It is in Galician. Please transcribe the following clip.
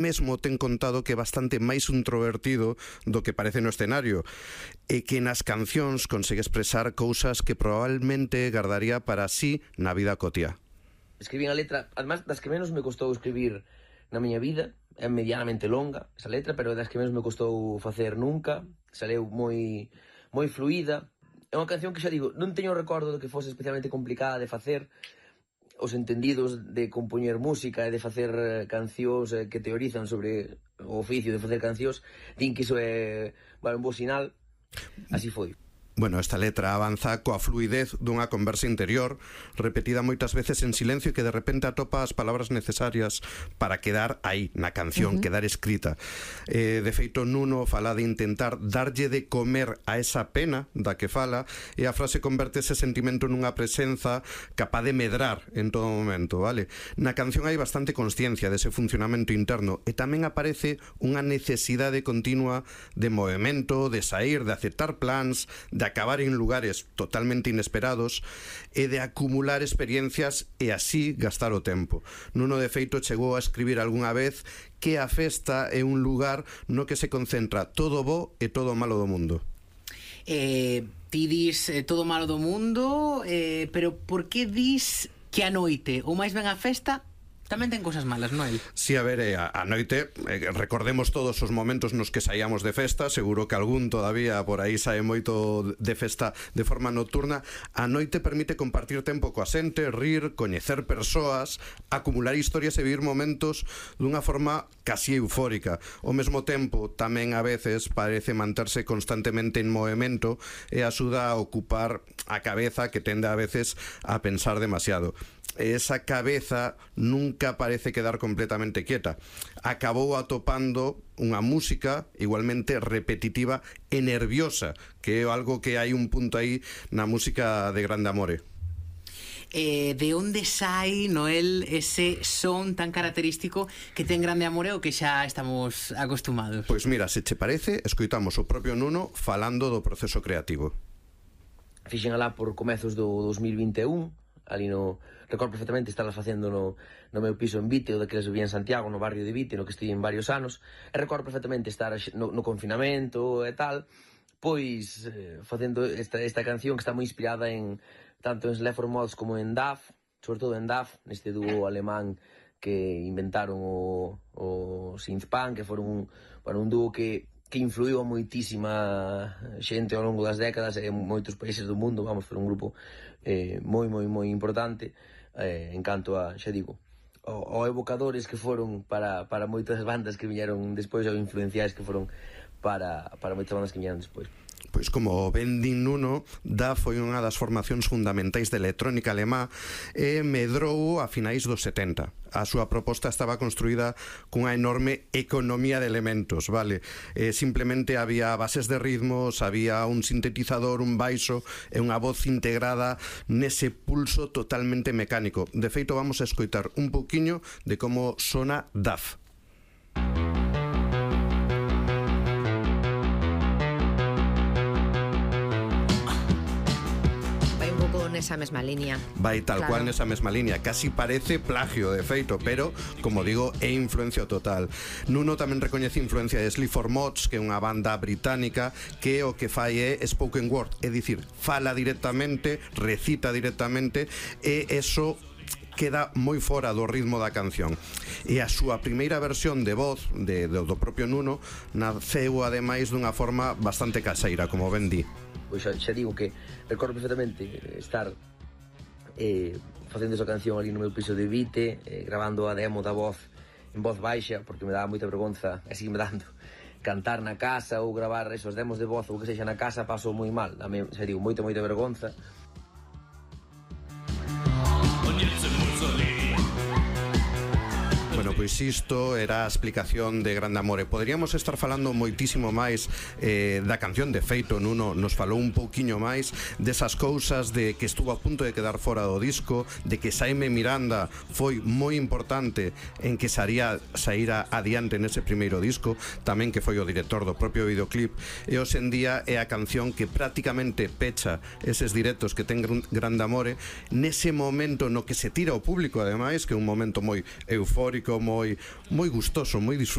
mesmo ten contado que é bastante máis introvertido do que parece no escenario e que nas cancións consegue expresar cousas que probablemente gardaría para sí na vida cotiá. Escribín a letra, además das que menos me costou escribir na miña vida, é medianamente longa esa letra, pero das que menos me costou facer nunca, saleu moi fluida. É unha canción que xa digo, non teño recordo de que fose especialmente complicada de facer. Os entendidos de compoñer música e de facer cancións que teorizan sobre o oficio de facer cancións din que iso é un bo sinal. Así foi. Bueno, esta letra avanza coa fluidez dunha conversa interior, repetida moitas veces en silencio e que de repente atopa as palabras necesarias para quedar aí, na canción, quedar escrita. De feito, Nuno fala de intentar darlle de comer a esa pena da que fala e a frase converte ese sentimento nunha presenza capaz de medrar en todo momento, vale? Na canción hai bastante consciencia dese funcionamento interno e tamén aparece unha necesidade continua de movimento, de sair, de aceptar plans, de acabar en lugares totalmente inesperados e de acumular experiencias e así gastar o tempo. Nuno de feito chegou a escribir algunha vez que a festa é un lugar no que se concentra todo bo e todo malo do mundo. Ti dis todo malo do mundo, pero por que dis que a noite ou máis ben a festa tamén ten cousas malas, Noel? Si, a ver, a noite, recordemos todos os momentos nos que saíamos de festa, seguro que algún todavía por aí sae moito de festa de forma nocturna. A noite permite compartir tempo coa xente, rir, coñecer persoas, acumular historias e vivir momentos dunha forma casi eufórica. Ao mesmo tempo, tamén a veces parece manterse constantemente en movimento e axuda a ocupar a cabeza que tende a veces a pensar demasiado. Esa cabeza nunca parece quedar completamente quieta. Acabou atopando unha música igualmente repetitiva e nerviosa, que é algo que hai un punto aí na música de Grande Amore. De onde sai, Noel, ese son tan característico que ten Grande Amore o que xa estamos acostumados? Pois mira, se che parece, escoitamos o propio Nuno falando do proceso creativo. Fixen alá por comezos do 2021, ali no... Recordo perfectamente estar facendo no meu piso en Vite, o daqueles que vivía en Santiago, no barrio de Vite, no que estive en varios anos, e recordo perfectamente estar no confinamento e tal, pois facendo esta canción que está moi inspirada en tanto en Sleaford Mods como en Duff, sobre todo en Duff, neste dúo alemán que inventaron o synthpunk, que foron un dúo que influiu a moitísima xente ao longo das décadas en moitos países do mundo. Vamos, foi un grupo moi importante en canto a, xa digo, ao evocadores que foron para moitas bandas que viñeron despois, ou influenciais que foron para moitas bandas que viñeron despois. Pois como ben din Nuno, Da foi unha das formacións fundamentais de electrónica alemá e medrou a finais dos 70. A súa proposta estaba construída cunha enorme economía de elementos, vale? Simplemente había bases de ritmos, había un sintetizador, un baixo e unha voz integrada nese pulso totalmente mecánico. De feito, vamos a escoitar un pouquiño de como sona DAF. Nesa mesma línea. Vai tal cual nesa mesma línea. Casi parece plagio, de feito, pero, como digo, é influencia total. Nuno tamén recoñece influencia de Sleaford Mods, que é unha banda británica que o que fai é spoken word, é dicir, fala directamente, recita directamente, e eso queda moi fora do ritmo da canción. E a súa primeira versión de voz do propio Nuno naceu ademais dunha forma bastante caseira, como ben di. Pois xa digo que recordo perfectamente estar facendo esa canción ali no meu piso de Vite, grabando a demo da voz en voz baixa, porque me daba moita vergonza, e sigue me dando, cantar na casa ou gravar esos demos de voz ou que sexa na casa, paso moi mal, xa digo, moita vergonza. Bueno, pois isto era a explicación de Grande Amore. Poderíamos estar falando moitísimo máis da canción. De feito, Nuno nos falou un pouquiño máis desas cousas de que estuvo a punto de quedar fora do disco, de que Xaime Miranda foi moi importante en que saíra adiante nese primeiro disco, tamén que foi o director do propio videoclip, e hoxe en día é a canción que prácticamente pecha eses directos que ten Grande Amore nese momento no que se tira ao público, ademais, que é un momento moi eufórico, moi gustoso, moi disfrutable.